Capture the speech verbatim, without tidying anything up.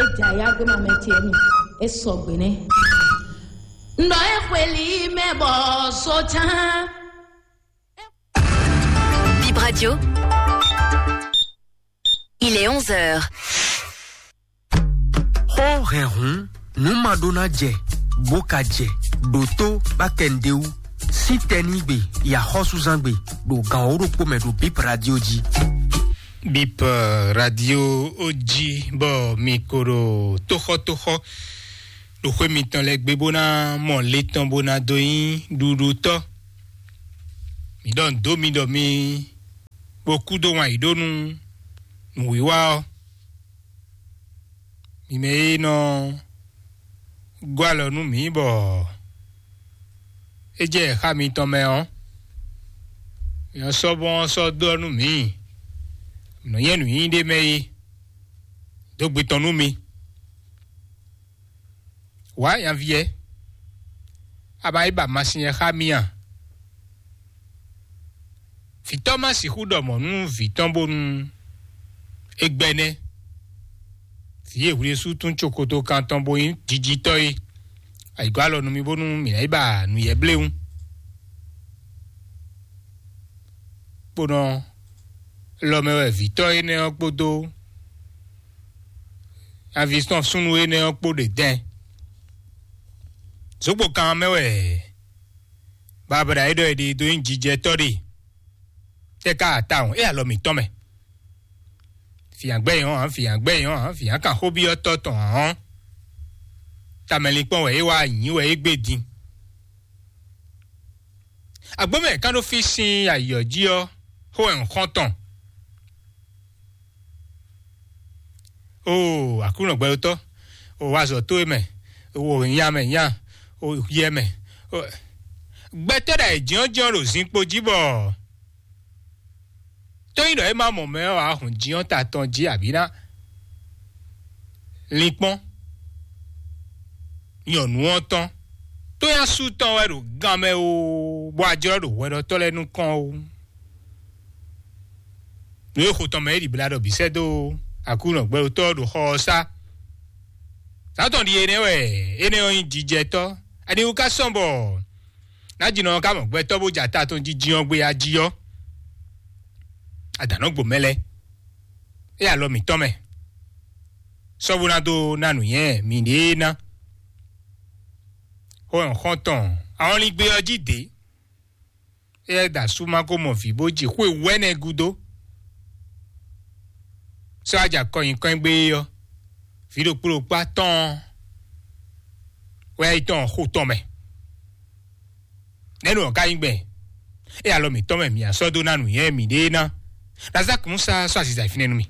É jɛ ayá gbé ma mɛ ce mi. É sɔgbe nɛ́. Nɔ é xweli mɛ bɔ so cán. Bip Radio. Il est onze heures. Xó hɛn hǔn, nǔ ma ɖó ná jɛ, bó ka jɛ, ɖǒtó bá kɛ nǔɖé wú. Sí tɛnígbe, yi axɔ́súzángbe, ɖo gan wǒ ɖokpó mɛ ɖo Bip Radio jí. Bip Radio jí, bɔ mi ko ɖo tóxɔ́tóxɔ́ ɖo xwé mitɔn lɛ́ɛ gbe bó ná mɔ le tɔn bó ná dó nyí ɖuɖutɔ́. Mi ɖɔ nǔ dó mi ɖɔ mi bó kú dó wǎn yǐ ɖó nú nǔwiwa ɔ́. Mi mɛ e nɔ gɔ́ alɔ nú mǐ bɔ é jɛ xá mitɔn mɛ ɔ́, mi nɔ sɔ́ bɔ́n ɔ́ sɔ́ dó ɔ́ nú mǐ. Mǐ nɔ nyɛ nǔnyinyí ɖé mɛ é dó gbe tɔn nú mi. Wǎ nyaví ɛ, a ma yi ba masin ɛ xá mì a? Vǐtɔ́ má sixú ɖɔ mɔ̌ nú vǐ tɔn bónú é gbɛ́ nɛ́. Vǐ e hwlésú tún cokoto kan tɔn bó nyí jijitɔ́ é, ayǐgɔ́ alɔ nú mì bónú mǐ ná yi ba nǔyɛ́ bléwún. Kponɔ lɔ mɛ wɛ vǐtɔ́ énɛ́ ɔ́ kpódó avisɔ́n súnnu énɛ́ ɔ́ kpó ɖe dɛn. Zǒgbó kan mɛ wɛ Babla e ɖɔ è ɖe dó nyí jijɛtɔ́ ɖe. Tɛ́ ká atawun é alɔ mǐtɔn mɛ. Fǐnyagbɛ́ nyɔ́ ǎ, fǐnyagbɛ́ nyɔ́ ǎ, fǐnyakanxóbyɔ́tɔ́ tɔn ǎ ɔ́, tamɛlinkpɔ́n wɛ é wá nyǐ wɛ é gbé din. Agbómɛ ká ɖó fí sín ayǐ ɔ́ jí ɔ́, xó wɛ un xɔ́n tɔn. Oo, Aklúnɔ gbɛɖotɔ́, o wá azɔ̌ towe mɛ, o nya mɛ nya, o yɛ mɛ. Gbɛtɔ́ ɖo ayǐjínjɔ́n ɖo zinkpo jí bɔ tó nyí ɖɔ é má mɔ mɛ ɔ́, wǎ hun jǐnjɔ́n ta tɔn jí abǐ ná linkpɔ́n nyɔ̌nu ɔ́ tɔn. Tó nyí asú tɔn wɛ ɖo gan mɛ oo, bɔ a jlɔ́ ɖo hwɛɖɔtɔ́ lɛ́ɛ nukɔn oo. Nǔ e xo tɔn mɛ é ɖibla ɖɔ bǐ sɛ́ dó Aklúnɔ gbɛɖotɔ́ ɖo xɔ ɔ́ sá. Sátɔn ɖi énɛ́ wɛ, énɛ́ ɔ́ nyí jijɛtɔ́. Aniwú ka sɔ́n bɔ nájínɔ ɔ́ ka mɔ gbɛtɔ́ bó jɛ ata tɔn jijin ɔ́ gbé ají ɔ́, adǎn nɔ gbo mɛ lɛ́ɛ. É alɔ mǐtɔn mɛ. Sɔ́ bó ná dó ná nǔnywɛ́ mǐɖée ná. Xó ɔ́ xɔ́n tɔn, ahɔnlín gbé ɔ́ jí dě. Éyɛ́ da sú má ko mɔ vǐ bó ji xwé wɛ́nɛ gúdo. Sɔ́ aja kɔnyi kɔn gbé é ɔ́, vǐ ɖokpó ɖokpó atɔ́ɔ́n wɛ yi tɔn xo tɔn mɛ. Nɛ̌ nɔ ká nyí gbɛn? É alɔ mǐtɔn mɛ mǐ asɔ́ dó ná nǔnywɛ́ mǐɖée ná. Lazaa kún sá sɔ́ aziza fínɛ́ nú mì.